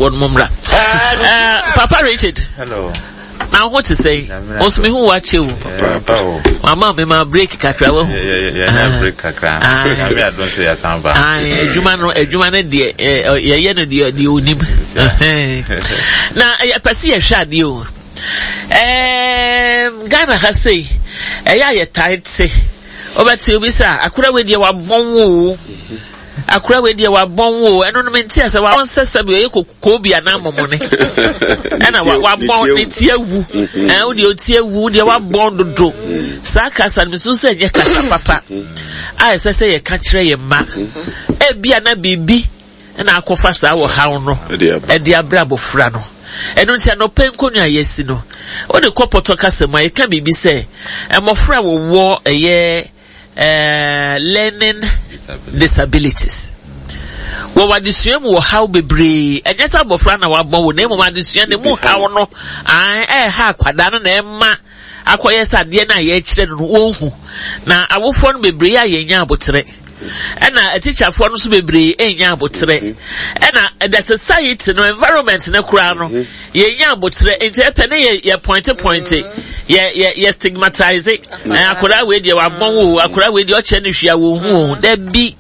no mmra. Eh, Papa Richard. Hello. Na ho te sɛn? Nso me ho wakyɛ o. Mama me ma break kakra wahu. Yɛnya break kakra. Nyame adom sɛ yɛasan ba. Adwuma no adwuma no deɛ yɛyɛ no deɛ deɛ onim. Na yɛpɛ sɛ yɛhwɛ adeɛ o. Ghana ha sei ɛyɛ a yɛtae te. Wobɛte obi sɛ akora wei deɛ wabɔn wo o. Akora wei deɛ wabɔn wo o. Ɛno no mente asɛ wabɔn sɛ sɛbi ɔyɛ koobi anaa mɔmɔne. Ɛna wabɔn ne ti awu. Mm-hmm. Ɛn wo deɛ ɔti awu wo deɛ wabɔn dodo. Mm-hmm. Saa kasa no mesu sɛ ɛnyɛ kasa papa a ɛsɛ sɛ yɛka kyerɛ yɛn mma. Mm-hmm. Ebia na biribi na akɔfa saa ɔhaw no ɛde abrɛ abɔfra no. Ɛno nti anɔpɛ nkonnwa a yɛasi no, wode kɔ pɔtɔ kasa mu a yɛka biribi sɛ mmɔfra a wɔwɔ ɛyɛ eh, learning disabilities. Wɔwɔ adesua mu wɔ haw bebree. Ɛnyɛ sɛ abɔfra na wabɔ wo, na mmom adesua no mu haw no ɛha akwadaa no na ɛma akɔyɛ sɛ adeɛ no a yɛrekyerɛ no no wɔnhu. Na awofoɔ no bebree a yɛnya aboterɛ. Ɛna atikyafoɔ no nso bebree ɛnya aboterɛ. Ɛna the society no environment no koraa no yɛnya aboterɛ nti ɛpɛ ne yɛ yɛ pointe pointe yɛ yɛ yɛ stigmatize ɛn akwadaa wei deɛ wabɔn o akwadaa wei deɛ ɔkyerɛ no hwia wɔn ho o dabi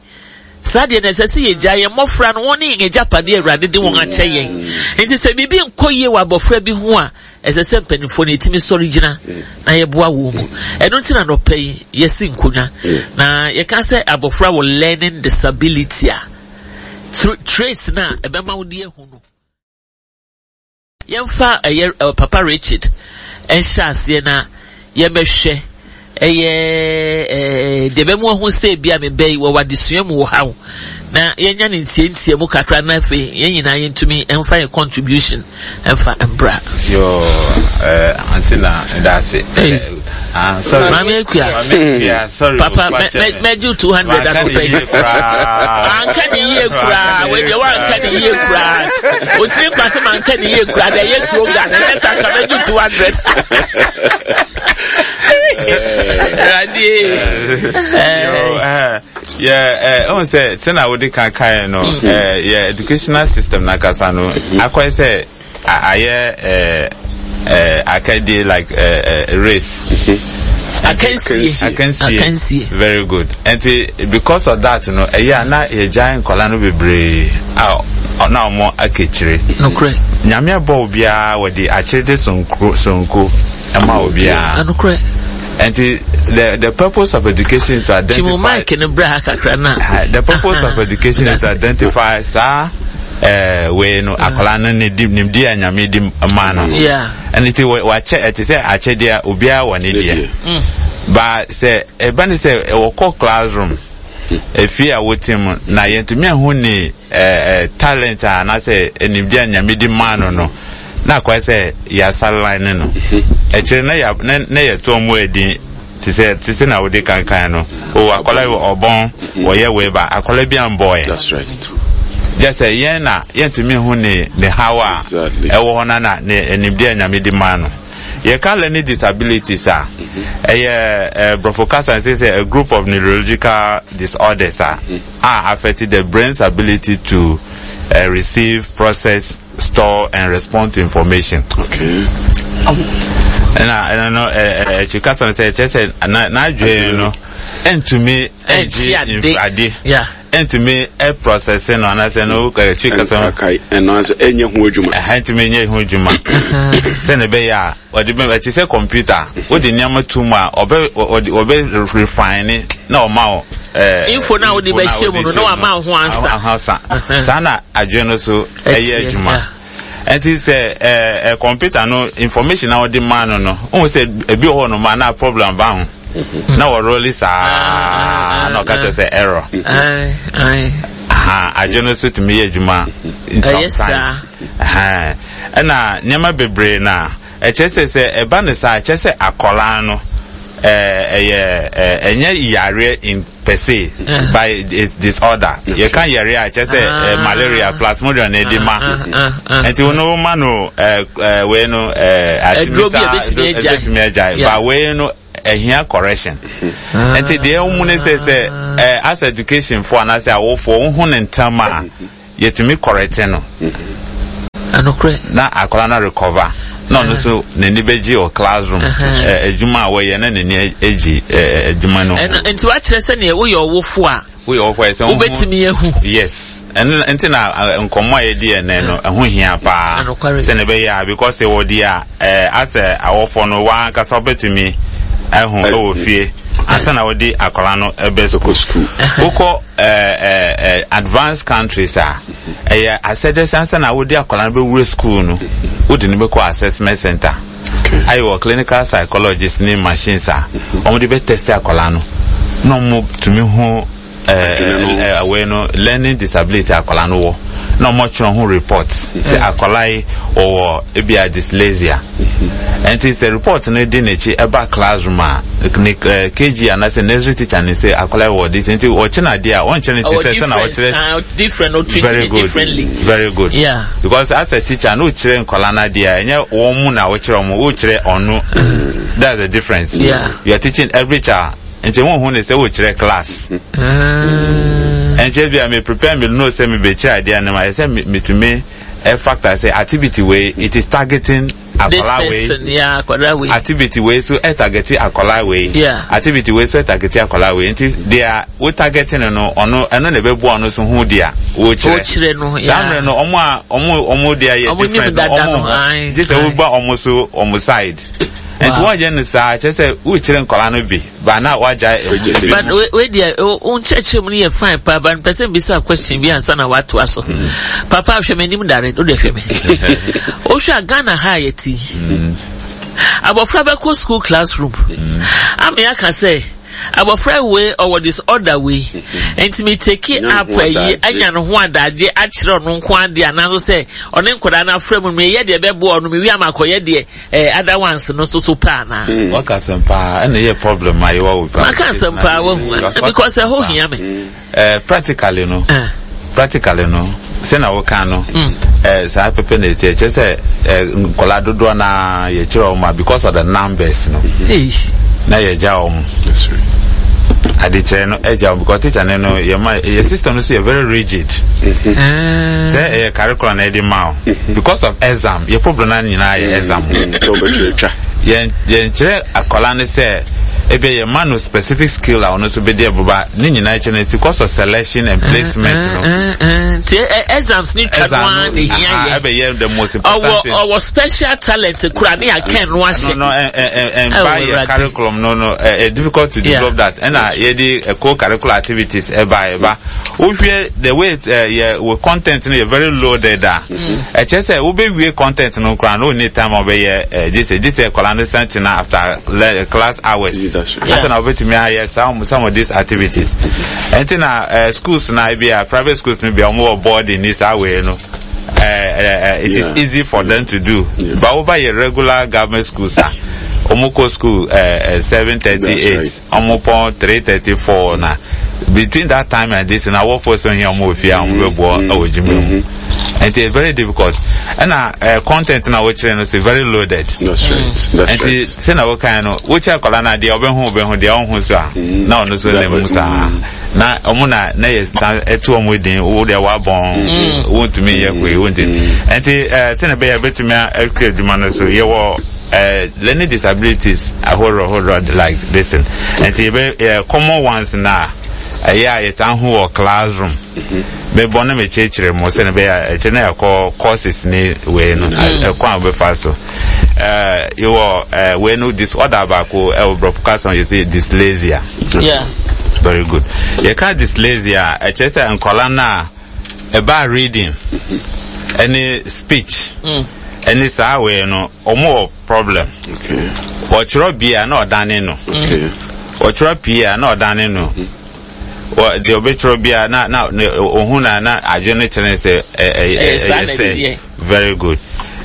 saa deɛ na ɛsɛ sɛ yɛgya yɛn mmɔfra no wɔn ne yɛn agyapadeɛ awurade de wɔn akyɛ yɛn nti sɛ biribi nkɔ yie wɔ abɔfra bi ho a ɛsɛ sɛ mpanimfoɔ no yɛtumi sɔre gyina na yɛboa wɔn mu ɛno nti na nɔpɛ yi yɛsi nkonnwa na yɛka sɛ abɔfra wɔ learning disability a traits na ɛbɛma wo de ahu no Yɛmfa ɛyɛ Papa Richard nhyɛ aseɛ na yɛmmɛhwɛ ɛyɛ deɛ ɛbɛmu ahu sɛ ebi a mebɛ yi wɔwɔ adesua mu wɔ ha o na yɛnya ne ntiantia mu kakra na afei yɛn nyinaa yɛntumi mfa yɛn contribution mfa mbra. Yoo, eh, ante na ndase. Hey. Ah, sorry. Maame Akua. Maame Akua, sorry. Papa, mɛgye 200 anɔpa yi. Anka ne yie koraa, wei deɛ wanka ne yie koraa. Otiri nkwa sɛ manka ne yie koraa, deɛ ɛyɛ slogan, ɛnyɛ sɛ anka mɛgye 200. Awurade. Yɛ ɛhu sɛ sɛnea wode kan kaeɛ no, yɛ educational system no ankasa no, akɔyɛ sɛ ayɛ eh, eh, akadie like eh, eh, race. Akansie. Akansie. Akansie. Very good. Nti because of that no, ɛyɛ a na yɛgyae nkɔla no bebree a na wɔn akakyire. Nokorɛ. Nyame abɔ obiara wɔde akyerede sonko sonko ɛma obiara. Nokorɛ. Nti the the purpose of education is to identify. Timu mic no bra ha kakra na. The purpose of education is to identify saa ɛɛ eh, wei no ah. akwadaa no ne di nimdi a nyame di maa no. Ɛne ti wakyɛ ɛte sɛ akyɛdeɛ obiara wɔ ne deɛ. Mm. Ba sɛ ɛba ne sɛ ɛwɔ kɔ classroom efie a wote mu na yɛntumi ahu ne ɛɛ eh, talent a anaasɛ nimdi a nyame di maa no no. na akɔyɛ sɛ yɛasa line no akyire na yɛ na na yɛto ɔmo edin te sɛ te sɛ na wode kankan no o akɔla yi ɔbɔn wɔyɛ wei ba akɔla bi ambɔɛ That's right. gyɛ sɛ yɛn na yɛntumi hu ne ne haw a Exactly. ɛwɔ hɔ na na ne nimdeɛ a nyame de maa no yɛka learning disabilities a ɛyɛ ɛ borɔfo kasa sɛ sɛ a group of neurological disorders a a affect the brain's ability to uh, receive process store and respond to information. Okay. ɛna ɛna no ɛɛ ɛkyi kasa no sɛ ɛkyɛ sɛ na n'adwene no ɛntumi ɛngye ade ɛntumi ɛprocess no anaasɛ no ɛkyi kasa no ɛno nso ɛnyɛ ho adwuma ɛntumi nyɛ ho adwuma sɛnea ɛbɛyɛ a ɔde bɛ ɛte sɛ kɔmputa wode nneɛma to mu a ɔbɛ ɔde ɔbɛ refine na ɔma wo ɛɛ info na wode bɛhyɛ mu no na wama ho ansa ansa saa na adwene no so ɛyɛ adwuma ɛnti sɛ ɛɛ ɛ kɔmputa no information na ɔde ma no no ohun sɛ ebi wɔ hɔ nom a na problem ba ho na wɔrɔli saa na ɔka kyerɛ sɛ error adwene no so tumi yɛ adwuma sometimes ɛna nneɛma bebree na ɛkyerɛ sɛ sɛ ɛba no saa ɛkyerɛ sɛ akɔlaa no ɛyɛ ɛnyɛ yareɛ in per se by it's disorder yɛka yareɛ a ɛkyerɛ sɛ ah. malaria plasmodium na ɛde ma ah, ah, nti wɔn no ma no wei no aduro bi a ebetumi agyae ba wei no ɛhia correction nti deɛ ɛwɔ mu ne sɛ sɛ as education fo anaasɛ awofoɔ wohu ne ntam a yɛtumi correct no. Na akwadaa no recover na ɔno nso n'ani bɛgye wɔ classroom adwuma a wɔyɛ na n'ani agye adwuma no ho. Nti wakyerɛ sɛdeɛ woyɛ ɔwofo a woyɛ ɔwofo a ɛsɛ wobɛtumi ahu. Yes, ɛno nti na nkɔmmɔ a yɛdi ɛnɛ no ɛho hia paa sɛnea ɛbɛyɛ a because wɔ deɛ a ɛɛ asɛ awɔfoɔ no wankasa wobɛtumi ahu ɛwɔ fie ansa na wɔde akwadaa no ɛbɛ sukuu. Wokɔ ɛɛ ɛɛ advanced countries a ɛyɛ asɛdeɛ sɛ ansa na wode akwadaa no bɛwura sukuu no wode no bɛkɔ assessment center ayɛ wɔ clinical psychologist ne machines a wɔde bɛ test akwadaa no na wɔn tumi ho ɛɛ ɛwɛ no learning disability akwadaa no wɔ na wɔn atwerɛ ho report sɛ akwadaa yi ɔwɔ ebia dyslexia nti sɛ report no di n'akyi ɛba classroom a ne kg anaasɛ nursery teacher ne sɛ akwadaa yi wɔ this nti ɔkyɛ no adeɛ a ɔnkyerɛ no ti sɛ sɛ na ɔkyerɛ very good very good yeah. Because as a teacher no wokyerɛ nkwadaa no adeɛ a ɛnyɛ wɔn mu na wokyerɛ wɔn wokyerɛ ɔno that's the difference yeah. You are teaching every child nti wɔn ho ne sɛ wokyerɛ class nkyɛn bi a me prepare me know sɛ me bɛ kyerɛ adeɛ no ma yɛ sɛ metumi factor sɛ activity wei it is targeting akwadaa wei yeah, akwadaa wei activity wei so ɛ target akwadaa wei yeah. Activity wei so ɛ target akwadaa wei nti deɛ wo target no no ɔno ɛno na ɛbɛboa ɔno so ho deɛ wokyerɛ wokyerɛ no yeah. Saa mmerɛ no ɔmo a ɔmo ɔmo deɛ yɛ different no ɔmo ho gye sɛ woba ɔmo so ɔmo side nti wɔnyɛ no saa kyerɛ sɛ wokyerɛ nkwadaa no bi ba na wagya emu. But wei deɛ wo nkyerɛkyerɛ mu no yɛ fine paa but mpɛ sɛ mbisa question bi ansa na watoa so. Papa hwɛ m'anim dare wode hwɛ me. Wohwɛ a Ghana ha a yɛte yi. Abɔfra bɛkɔ school classroom. Ame aka sɛ abɔfra wei ɔwɔ disorder wei nti me take up ayi anya ne ho adagye akyerɛ ɔno nko adeɛ anaasɛ sɛ ɔne nkwadaa no afrɛ mu meyɛ deɛ ɛbɛboa ɔno mewie ama akɔyɛ deɛ Eh, other ones no so so paa na. Hmm. Waka asɛm paa ɛna ɛyɛ problem a yɛwɔ wɔ paa. Maka asɛm paa wahu because ɛhɔ hia me. Eh, practically no. Eh. Practically no sɛ na woka no hmm. eh, saa pɛpɛ na ɛti ɛkyɛ sɛ eh, nkɔla dodoɔ na yɛkyerɛ wɔn a because of the numbers no na yɛgya wɔn adekyerɛ no agya wɔn because teacher no no yɛ ma yɛ system no so yɛ very rigid mm-hmm. sɛ ɛyɛ curriculum na ɛde ma o because of exam yɛ problem na nyinaa yɛ exam yɛn yɛn kyerɛ akwadaa no sɛ ebi yɛ ma no specific skill a ɔno nso bɛ di ɛboba ne nyinaa kyerɛ no because of selection and placement no. Ti exams ni twa no ara na ehia yɛ. Ɛbɛyɛ the most important thing. Ɔwɔ ɔwɔ special talent kura ne akɛn no ahyɛ. No no ɛ ɛ ɛ yɛ curriculum no no ɛ difficult to develop that ɛna yɛ de co-curricular activities ɛba ɛba. Wohwɛ the way it eh, yɛ wɔ content no yɛ very loaded a ɛkyerɛ sɛ wobɛwie content no koraa no wonni time a wobɛyɛ eh, gye sɛ gye sɛ akwadaa no san tena after le, class hours ansa na wobɛtumi ayɛ some some of these activities ɛnti na eh, schools na ebi a private schools no bi a wɔwɔ boarding ni saa wei no eh, eh, eh, it is easy for them to do yeah. But over yɛ regular government schools a wɔn kɔ school eh, eh, 7:38 Ɔmo pɔn 3:34 na between that time and this na awɔfoɔ sɛ ohia ɔmo wɔ fie a ɔmo bɛboa ɛwɔ adwuma mu nti it's very difficult ɛna eh, content na wokyerɛ no so very loaded. That's right. That's nti right. sɛ na wokan no wokyerɛ akwadaa no adeɛ ɔbɛho ɔbɛho deɛ ɔnho so a na ɔno so nam mu saa na ɔmo na na yɛ san ɛto ɔmo din wo deɛ wabɔn wontumi nyɛ hwee wontumi nti eh, sɛ na ɛbɛyɛ bɛtumi akura adwuma no so yɛwɔ Eh, learning disabilities ahorow ahorow like this thing. Nti yɛbɛ yɛ common ones na ɛyɛ a yɛtaa hu wɔ classroom. Mebɔ na mekyerɛkyerɛ mu sɛ ɛbɛyɛ a ɛkyerɛ na yɛkɔ courses ne wei no ɛkwan a wɔbɛfa so. Eh, yɛwɔ eh, wei no disorder baako ɛwɔ borɔfo kasa mu yɛsɛ dyslexia. Yeah. Very good. Yɛka dyslexia a ɛkyerɛ sɛ nkɔla no a ɛbaa reading ɛne speech ɛne saa wei no ɔmo wɔ problem. Ɔtwerɛ bi a na ɔdane no. Ɔtwerɛ pii a na ɔdane no. Deɛ ɔbɛtwerɛ bi a na na ohun na na adwene no kyerɛ sɛ ɛyɛ sɛ very good.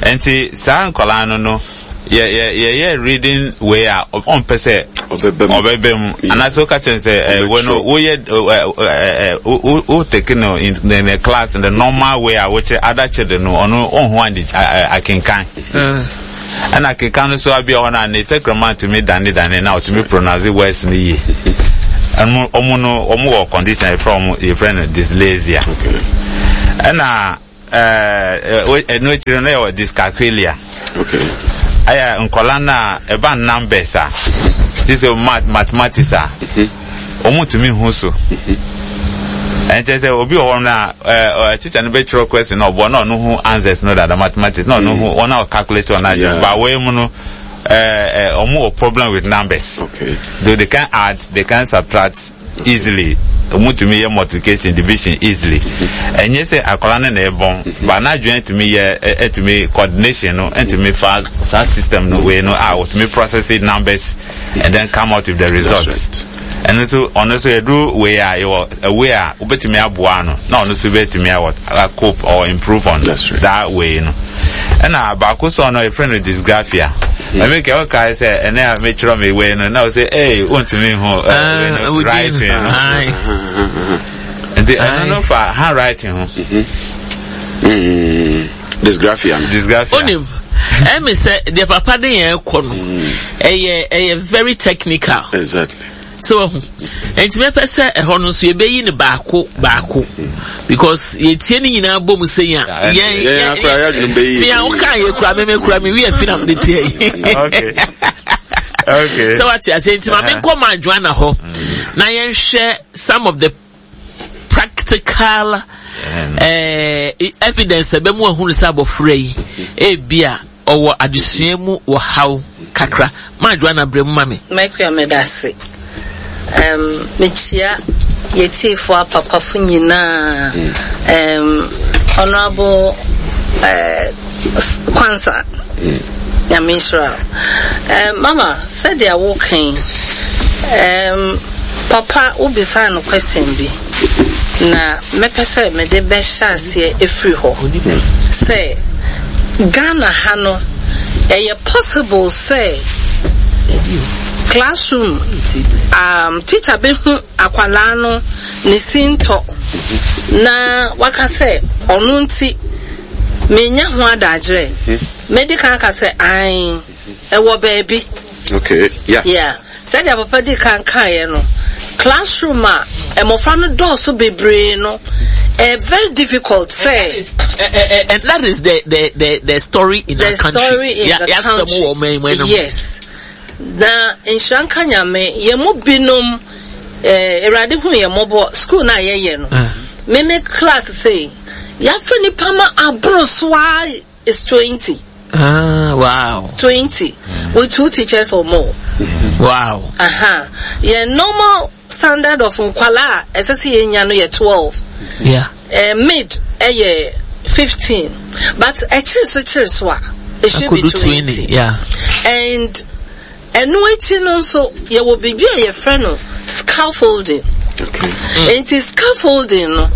Nti saa nkɔlaa no no yɛ yɛ yɛyɛ reading wei a ɔmpɛ sɛ ɔbɛbɛ mu anaasɛ woka kyerɛ sɛ ɛ wɔ no woyɛ ɛ ɛ ɛ wo take no in the class in the normal way a wokyerɛ other children no ɔno ɔnho ade akenkan ɛna akenkan no so abia hɔ no a ne tɛkrɛma ntumi dane dane na ɔtumi pronounce words no yie ɛno ɔmo no ɔmo wɔ condition yɛfrɛ ɔmo yɛfrɛ no dyslexia ɛna. ɛɛ ɛno akyiri no yɛwɔ dyscalculia. Okay. Ɛyɛ nkɔla no a ɛba numbers a, ti sɛ math mathematics a, wɔn ntumi hu so. Ɛnkyɛ sɛ obi wɔ hɔ no a ɛɛ teacher no bɛtwerɛ question na ɔbɔ na ɔno hu answers no dada mathematics na ɔno hu wɔn a ɔcalculate wɔn adwene. Ba wei mu no ɛɛ wɔn wɔ problem with numbers. Okay. Though they can add, they can subtract easily. Wɔn tumi yɛ multiplication, division easily. Ɛnyɛ sɛ akwadaa no na ɛbɔn, ba n'adwene tumi yɛ ɛtumi coordination no ɛtumi fa saa system no wei no a wɔtumi process numbers and then come out with the results. Ɛno nso ɔno nso yɛduru wei a yɛwɔ a way a wobɛtumi aboa no na ɔno nso bɛtumi awɔ cope or improve on That's right. that way no. Ɛna baako sɔ no yɛfrɛ no dysgraphia. Ɛmi kɛ ɔkae sɛ ɛnɛ a mekyerɛ me wei no na ɔsɛ ee wontumi hu wei no writing no. Nti ɛno no fa handwriting ho. Dysgraphia no. Dysgraphia. Onim, ɛmi sɛ deɛ papa de yɛn kɔ no, ɛyɛ ɛyɛ very technical. Exactly. So wahu. Nti mɛpɛ sɛ ɛhɔ no nso yɛbɛyi no baako baako because yɛtie ne nyinaa bɔ mu sɛ yɛn a yɛn yɛn akora yɛ adwene bɛyi. Mea woka yɛ kura me me kura me wi afi na mede tie yi. Okay. Okay. Sɛ wate ase nti ma menkɔ ma adwoana hɔ na yɛnhwɛ some of the practical eh, evidence ɛbɛ mu ahunu sɛ abɔfra yi ebia ɔwɔ adesua mu wɔ haw kakra. Ma Joanna brɛ mu ma me. Makua medase. Um, mekyia yɛtiefo apapafo nyinaa. Um, Honorable uh, Kwansa. Nyame nhyira wo. Um, mama, sɛdeɛ woka yi, um, papa wobisaa no question bi na mɛpɛ sɛ mede bɛhyɛ aseɛ ɛfiri hɔ sɛ Ghana ha no ɛyɛ possible sɛ classroom um, teacher bɛhu akwalaa no ne sintɔ na waka sɛ ɔno nti menya ho adagyerɛ. Mɛdi kan aka sɛ ae, ɛwɔ baabi. Okay, yeah. Yeah. Sɛdeɛ papa di kan kaeɛ no, classroom a mmɔfra no dɔɔso bebree no, ɛyɛ very difficult sɛ. And that is the the the the story in the our country. story in yeah, the country. Yes. Na nhyira nka Nyame, yɛn mu binom, eh, Awurade hu yɛn mmɔbɔ, school no a yɛyɛ no, Ah. me me class sei, yɛafa nipa ma aboro so ara is 20. Ah, wow. 20 with two teachers or more. Wow. Aha. Yɛn normal standard of nkwalaa a ɛsɛ sɛ yɛnya no yɛ 12. Yeah. Eh, mid ɛyɛ 15. But ɛkyere so kyere so a, it should be Akodu 20. 20, yeah. And ɛno akyi no nso yɛwɔ biribi a yɛfrɛ no scaffolding. Okay. Nti scaffolding no,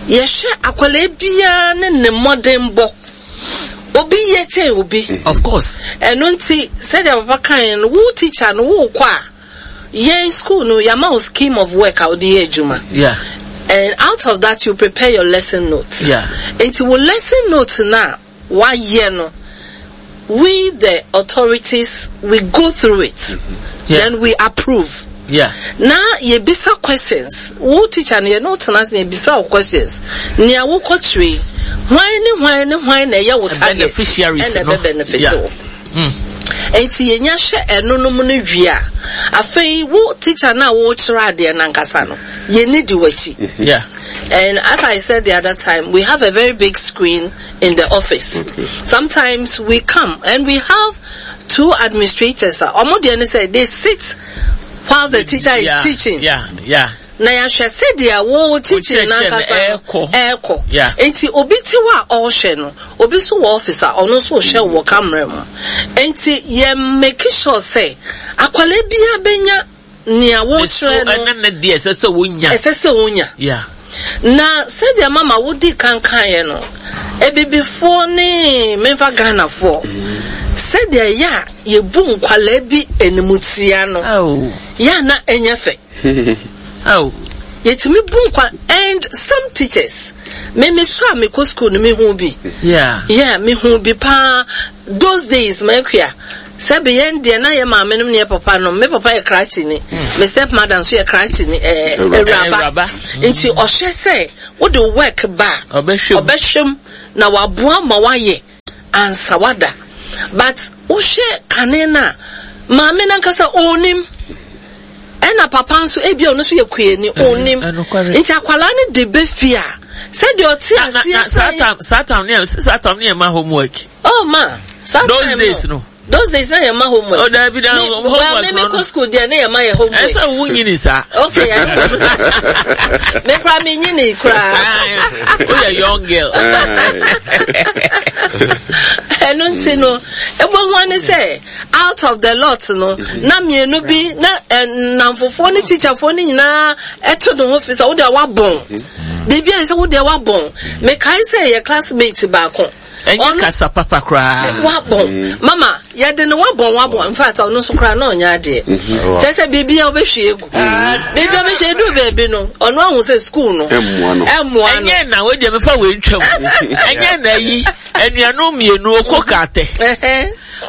yɛhwɛ akwadaa biara ne ne mmɔdenbɔ. Obi yɛ kyɛn obi. Of course. Ɛno nti sɛdeɛ papa kaeɛ no, wo teacher no wokɔ a, yɛn school no yɛama wo scheme of work a wode yɛ adwuma. Yeah. And out of that you prepare your lesson notes. Yeah. Nti wo lesson notes no a wayɛ no, we the authorities we go through it. Yeah. Then we approve. Yeah. Na yɛbisa questions. Wo teacher no yɛne wo tena ase na yɛbisa wo questions. Nea wokɔkyerɛ yi, hwan ne hwan ne hwan na ɛyɛ wo target Beneficiaries ɛna no. ɛbɛ benefit Yeah. wo. Enti yɛnya hwɛ ɛno nom no wie a, afei wo teacher no a wokyerɛ adeɛ no ankasa no, yɛni di w'akyi. Yeah. And as I said the other time, we have a very big screen in the office. Sometimes we come and we have two administrators. Ɔmo deɛ ne sɛ they sit while the teacher is yeah. teaching. Yeah, yeah. Na yɛahwɛ sɛdeɛ wo teaching Wo kyerɛkyerɛ no n'ankasa no ɛɛkɔ. ɛɛkɔ. Yeah. Enti obi te hɔ a ɔrehwɛ no, obi nso wɔ office a ɔno nso rehwɛ wɔ camera mu. Enti yɛ make sure sɛ akwadaa biara bɛnya nea wokyerɛ no. Ɛne ne deɛ ɛsɛ sɛ wonya. Ɛsɛ sɛ wonya. Yeah. Na sɛdeɛ mama wodi kan kaeɛ no, abibifoɔ ne memfa Ghanafoɔ, sɛdeɛ yɛ a yɛbu nkwalaa bi animtia no, Oh. yɛ a na ɛnyɛ fɛ. Oh. Yɛtumi bu nkwa and some teachers, me me so a mekɔ school no mehu bi. Yeah. Yeah, mehu bi paa. Those days, makua, sɛbe yɛn deɛ na yɛ maame nom ne yɛ papa nom. Me papa yɛ krakye ni. Me step mother nso yɛ krakye ni, eh, awuraba. Awuraba. Nti ɔhwɛ sɛ wode work ba a, Ɔbɛhwɛ mu. ɔbɛhwɛ mu. na waboa ma wayɛ ansa wada. But wohwɛ kane no a, maame no ankasa ɔnnim. Ɛna papa nso ebia ɔno nso yɛ kuani, ɔnnim. Nti akwadaa no de bɛ fie a, sɛdeɛ ɔte aseɛ sɛ. Saa time ne saa time ne yɛ ma homework. Oh ma, saa time no. Those days no. Those days na yɛ ma homework. Oh dabi da homework no. Me me kɔ school deɛ ne yɛ ma yɛ homework. Ɛsɛ wo nyini saa. Okay. Me kura me nyini kura. O yɛ young girl. Ɛno nti no, ebo ho ne sɛ out of the lot no, na mmienu bi na nnamfofoɔ ne teacherfoɔ ne nyinaa ɛto ne ho fi sɛ wo deɛ wabɔn. Biribi a sɛ wo deɛ wabɔn. Mekae sɛ yɛ classmate baako. Ɛnyɛ kasa papa koraa. Wabɔn. Mm. Mama, yɛde no wabɔn wabɔn. In fact, ɔno nso koraa na ɔnyɛ adeɛ. Mm-hmm. Kyerɛ sɛ biribi a wobɛhwie egu. Mm-hmm. Biribi a wobɛhwie edu baabi no, ɔno ahu sɛ sukuu no. Ɛmmoa no. Ɛmmoa no. Ɛnyɛ na wo deɛ mefa wei ntwam. Ɛnyɛ na yi anuanom mmienu okɔ kaatɛ.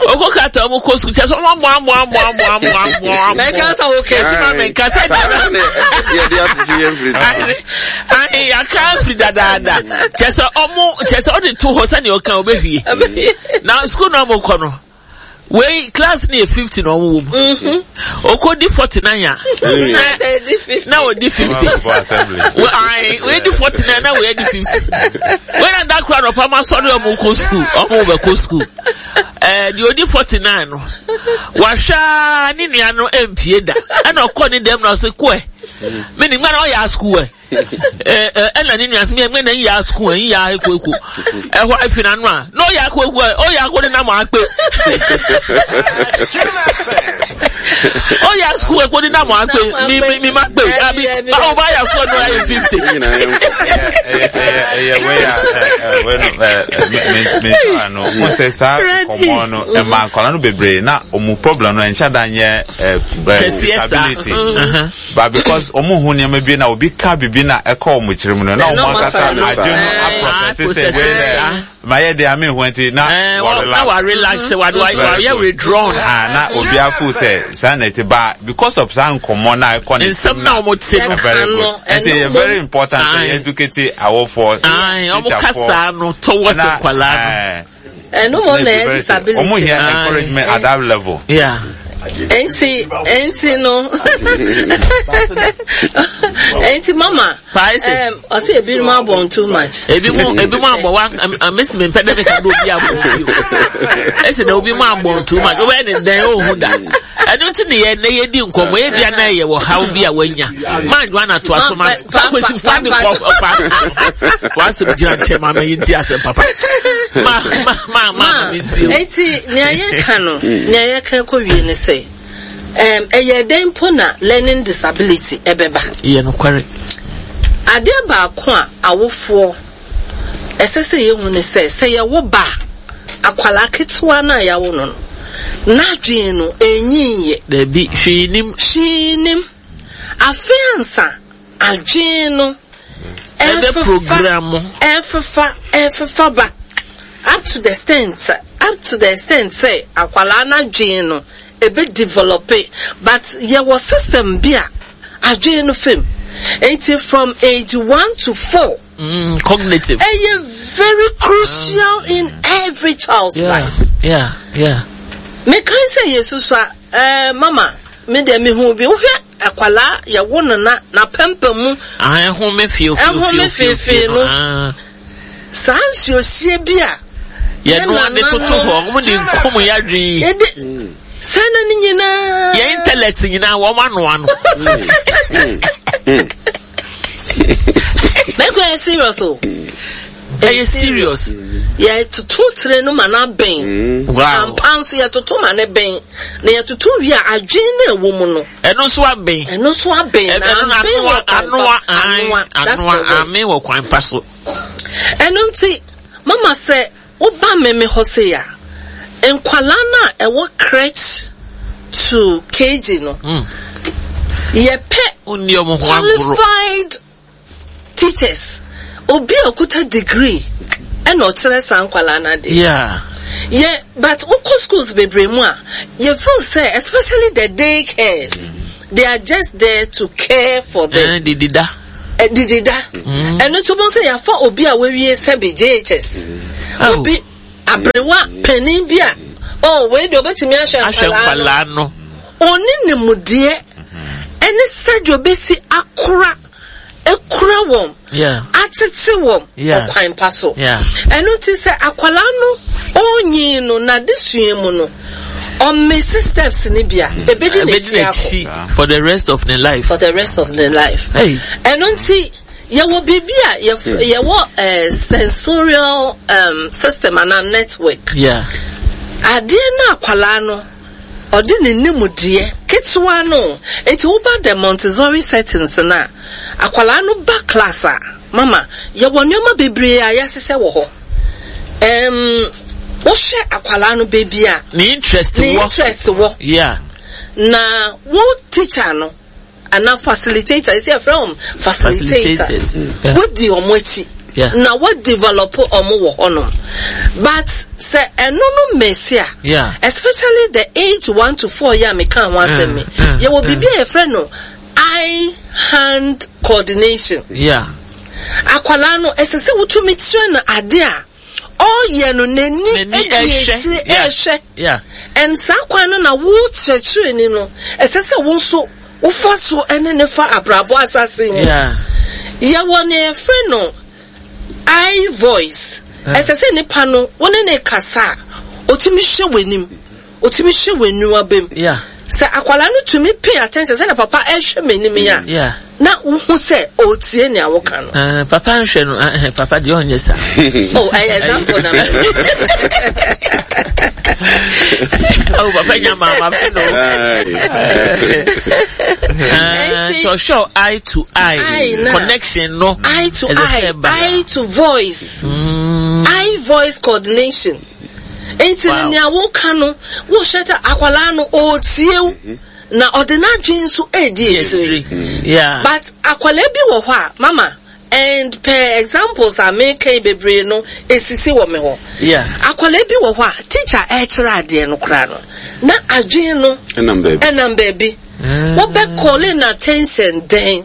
Oko kata ɔmo kɔ sukuu kyɛ sɛ ɔmo amoa amoa amoa amoa amoa amoa amoa. Mɛka sɛ wo kɛ. Ɛsi ma mi nka sɛ dada. Yɛde atete yɛn firi ti. Ayi yaka afiri dadaada. Kyɛ sɛ ɔmo kyɛ sɛ ɔde to hɔ sɛnea ɔka ɔbɛhwie. Na sukuu na ɔmo kɔ no wei class ni yɛ 50 na ɔmo wɔ mu. Oko di 49 a. Na odi 50. Ayi wei di 49 na wei di 50. Wei na dakora na ɔpam asɔre ɔmo kɔ sukuu ɔmo bɛ kɔ sukuu. Ɛɛ deɛ odi 49 no wahwɛ ara ne nua no mpie da ɛna ɔkɔ ne dɛm na ɔsɛ kɔɛ me ne nwa na ɔyɛ asukuu ɛ ɛɛ ɛna ne nua sɛ me na nyɛ asukuu ɛ nyɛ akɔ eko ɛhɔ afi n'ano a na ɔyɛ akɔ eko ɛ ɔyɛ akɔ ne nam akpe ɔyɛ asukuu ɛ kɔ ne nam akpe mi mi mi ma kpe abi ɔba ayɛ asukuu no ayɛ 50. Ɛyɛ wei a wei no me me no mo sɛ saa nkɔmɔ no ɛma nkɔla no bebree na ɔmo problem no ɛnhyɛ da nyɛ disability but because ɔmo hu nneɛma bi na obi ka bibi na ɛkɔ ɔmo tirim no na ɔmo ankasa adwene no aprɔsɛse sɛ wei dɛ ma yɛ de ame ho nti na wa relax wa wa yɛ withdrawn. Na obi afo sɛ saa na ɛte ba because of saa nkɔmɔ na ɛkɔ ne nsɛm na ɔmo te no very good nti ɛyɛ very important sɛ yɛ educate awofoɔ ɔmo kasa no towards nkwadaa no. Ɛno mo na ɛyɛ disability. Ɔmo hia encouragement at that level. Yeah. Enti enti no enti mama ɔsɛ ebinom abɔn too much. Ebi mu ebi mu abɔ wa mesi mi mpɛ dɛ mi ka do obi abɔn bi o. Esi na obi mu abɔn too much ɔbɛyɛ ne dɛn ohu da. Ɛno nti ne yɛ ne yɛ di nkɔmɔ ebi ana yɛ wɔ haw bi a wanya. Maa dwa na to aso ma akwesi fa ne kɔ fa wasɛm gyina nkyɛn ma mɛyi nti asɛm papa. Ma ma ma ma mi nti. Eti nea yɛ ka no nea yɛ ka kɔ wie ne sɛ ɛyɛ dɛn mpo na learning disability ɛbɛba. Yɛ nokware. Adeɛ baako a awofoɔ ɛsɛ sɛ yɛhu ne sɛ, sɛ yɛwo ba a, akwadaa ketewa no a yɛawo no no, n'adwene no ɛnyinyɛ. Dabi, hwee nim. Hwee nim. Afei ansa adwene no ɛfefa, ɛfefa, ɛfefa ba up to the extent, up to the extent sɛ akwadaa n'adwene no ɛbɛ develope, but yɛwɔ system bi a adwene no fam. Enti from age 1 to 4. Cognitive. Ɛyɛ very crucial in every child's life. Yeah. Mekan sɛ yɛsusua, mama, me deɛ mehu bi, wohwɛ akwalaa yɛwo no na n'apampam mu. Ah, ɛhome fiefie. Ɛhome fiefie no. Saa nsuohyie bi a. Yɛnoa de toto hɔ, wɔn de nkum yɛ adwene yi. Yɛde saa na ne nyinaa. Yɛn intellect nyinaa wɔn anoa no. Mɛkura yɛ serious o. Ɛyɛ serious. Yɛtoto tire no ma no abɛn. Wow. Ampa nso yɛtoto ma no bɛn. Na yɛtoto wie a adwene no ɛwɔ mu no. Ɛno nso abɛn. Ɛno nso abɛn. Na abɛn wɔ kwan pa. Anoa, anoa, amen wɔ kwan pa so. Ɛno nti, mama sɛ woba meme hɔ sei a, nkwalaa no a ɛwɔ crèche to KG no, yɛpɛ qualified teachers, obi a okuta degree ɛna ɔkyerɛ saa nkwalaa no adeɛ. Yeah. Yeah, but wokɔ schools bebree mu a, you feel sɛ, especially the day cares, they are just there to care for them. Didida. Didi da. Ɛno nti wobɛhu sɛ yɛafa obi a wawie sɛbe JHS. Oh. Obi aberewa panin bi a oh wei deɛ ɔbɛtumi ahwɛ Ahwɛ nkwadaa no. nkwadaa no. Ɔnni nimdeɛ ɛne sɛdeɛ ɔbɛsi akora akura wɔn atete wɔn ɔkwan pa so. Ɛno nti sɛ akwadaa no ɔnyin no n'adesua mu no ɔmmesi steps no bi a ebedi n'akyi akɔ. For the rest of the life. For the rest of the life. Ɛno nti yɛwɔ biribi a yɛwɔ eh, sensorial um, system anaa network. Yeah. Adeɛ no akwadaa no. Ɔde ne nimdeɛ ketewa no nti woba the Montessori settings no a, akwadaa no ba class a, mama, yɛwɔ nneɛma bebree a yɛahyehyɛ wɔ hɔ. Um, wohwɛ akwadaa no baabi a ne interest wɔ. Ne interest wɔ. Yeah. Na wo teacher no, anaa facilitator yɛsɛ yɛfrɛ wɔn facilitators wodi wɔn akyi na wɔ develop wɔn wɔ hɔnom but sɛ ɛno no mmɛsi a especially the age 1 to 4 yɛ a meka ho asɛm mi yɛwɔ biribi a yɛfrɛ no eye hand coordination. Akwadaa no ɛsɛ sɛ wotumi kyerɛ no ade a ɔyɛ no n'ani adi akyire ɛrehwɛ and saa kwan no na wo kyerɛkyerɛni no ɛsɛ sɛ wo nso wofa so ɛne ne fa abrabɔ asase mu. Yɛwɔ nea yɛfrɛ no eye voice. Ɛsɛ sɛ nipa no wo ne ne kasa a otumi hwɛ w'anim, otumi hwɛ w'aniwa bem. Sɛ akwadaa no tumi pay attention sɛdeɛ papa ɛrehwɛ m'anim yi a, na wohu sɛ ɔretie nea woka no. Uh, papa nhwɛ no, uh, papa deɛ ɔnyɛ saa. Oh, ɛyɛ example na mɛ. Oh, papa nya maama fi no. Uh, so show eye to eye, eye connection no. Eye to eye, eye to voice, eye voice coordination. Nti no nea woka no, wohwɛ sɛ akwadaa no ɔretie wo na ɔde n'adwene nso redi akyire. But akwadaa bi wɔ hɔ a, mama, and per examples a meka yi bebree no esisi wɔ me hɔ. Akwadaa bi wɔ hɔ a, teacher ɛrekyerɛ adeɛ no koraa no, na adwene no ɛnam baabi. Wobɛ calling attention dɛn?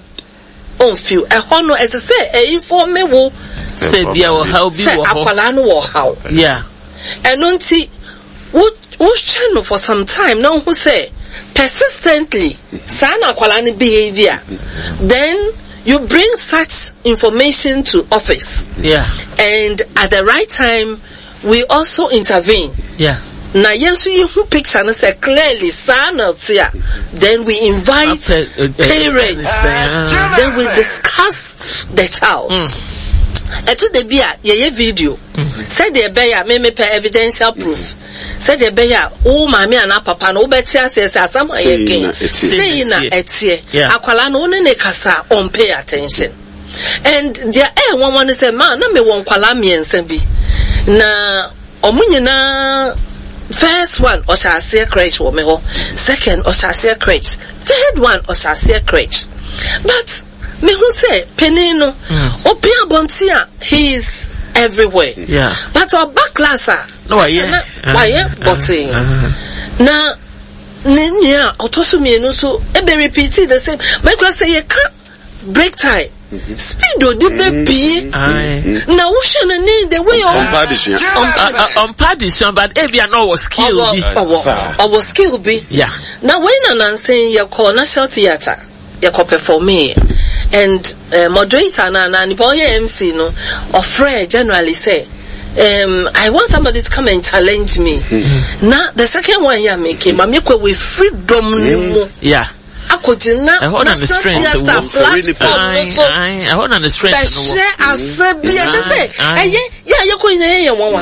Ɔmfiw. Ɛhɔ no, ɛsɛ sɛ ɛinfɔme wo sɛ bia ɔhaw bi sɛ wɔ hɔ. Akwadaa no wɔ ɔhaw. Ɛno nti, wo wohwɛ no for some time na wohu sɛ persistently saa na akwadaa no behavior, then you bring such information to office. And at the right time, we also intervene. Na yɛn nso yɛhu picture no sɛ clearly saa na ɔte a, then we invite parents, then we discuss the child. Ɛto da bi a yɛyɛ video sɛdeɛ ɛbɛyɛ a memepɛ evidential proof sɛdeɛ ɛbɛyɛ a wo maame anaa papa no wobɛte aseɛ sɛ asɛm a yɛken sei na ɛteɛ. Akwalaa no wo ne ne kasa a ɔmpay attention. And deɛ ɛyɛ nwanwa ne sɛ maa na mewɔ nkwalaa mmiɛnsa bi na ɔmo nyinaa, first one ɔhyɛ aseɛ crèche wɔ me hɔ, second ɔhyɛ aseɛ crèche, third one ɔhyɛ aseɛ crèche, but mehu sɛ panin no obi abɔnten a he is everywhere. But ɔba class a Na wayɛ na wayɛ bɔtee na ne nua a ɔtɔ so mmienu nso ebe repeat the same. Mɛkura sɛ yɛka break time speed odi bɛ pie na wohwɛ no ne the way ɔmpa adesua. Ɔmpa adesua, but ebi a na ɔwɔ skill bi. Ɔwɔ skill bi. Na wei na nansen yɛkɔ National Theatre yɛkɔ performee and moderator na na nipa ɔyɛ MC no ɔfrɛ generally sɛ I want somebody to come and challenge me. Na the second one yɛ ameke maame kɔ wɔ efiri dɔm ne mu. Akɔgyina Ɛhɔ na ne National strength Theatre wɔ. platform no so Ɛhɔ na ne strength no wɔ. bɛhyɛ ase bi ɛte sɛ ɛyɛ yɛ a yɛkɔ nyinaa yɛyɛ nwanwa.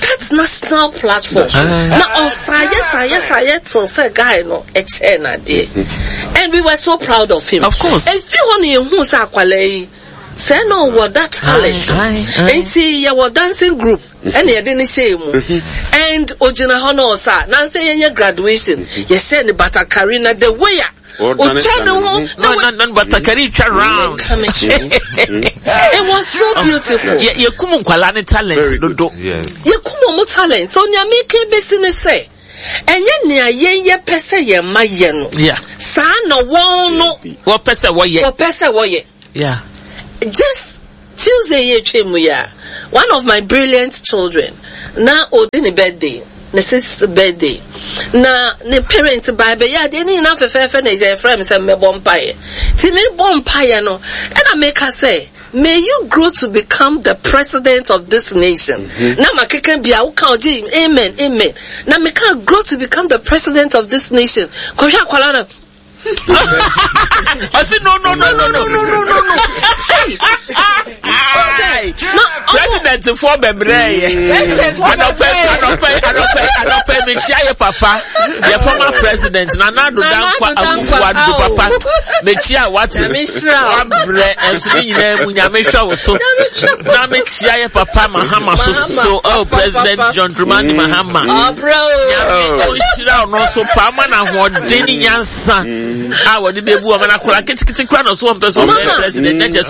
That national platform na ɔsaayɛ saayɛ saayɛ till sɛ guy no ɛkyɛɛ n'adeɛ and we were so proud of him. Of course. Efi hɔ na yɛhu sɛ akwalaa yi sɛ na ɔwɔ that talent nti yɛwɔ dancing group ɛna yɛde ne hyɛɛ mu and ogyina hɔ na ɔsa nansa yɛnyɛ graduation yɛhyɛ ne batakari na the way a otwa ne ho na na batakari twa round. It was so beautiful. Yɛ yɛkum nkwalaa ne talent dodo. Yɛkum ɔmo talent so nea meka besi ne sɛ ɛnyɛ nea yɛn yɛpɛ sɛ yɛn mma yɛ no saa na wɔn no wɔpɛ sɛ wɔyɛ. Wɔpɛ sɛ wɔyɛ. Yeah. Just Tuesday yi atwa mu yi a, one of my brilliant children na ɔdi ne birthday, ne sixth birthday. Na ne parents baa bɛyɛ adeɛ ne nyinaa fɛfɛɛfɛ na agya yɛfrɛ me sɛ mmɛbɔ mpaeɛ. Nti mebɔ mpaeɛ no, ɛna meka sɛ, May you grow to become the president of this nation. Mm-hmm. Na makeka bia woka ɔgye amen amen. Na meka grow to become the president of this nation. Kɔhwɛ akwala no. Ɔsi no no no no no no no no no. President foɔ bɛbrɛ yɛ. President foɔ bɛbrɛ yɛ. Anɔpɛ anɔpɛ anɔpɛ anɔpɛ mekyia yɛ papa yɛ former president Nana Addo Dankwa Akufo Addo papa mekyia wate wabrɛ ɛnso ne nyinaa mu nyame hwɛ wo so na mekyia yɛ papa Mahama so so oh president John Dramani Mahama nyame ɔnhyira ɔno nso paa ma no ahoɔden ne nyansa a wɔde bɛbu ɔma no akora ketekete kora na ɔso wɔmpɛ sɛ ɔbɛyɛ president na kyerɛ sɛ.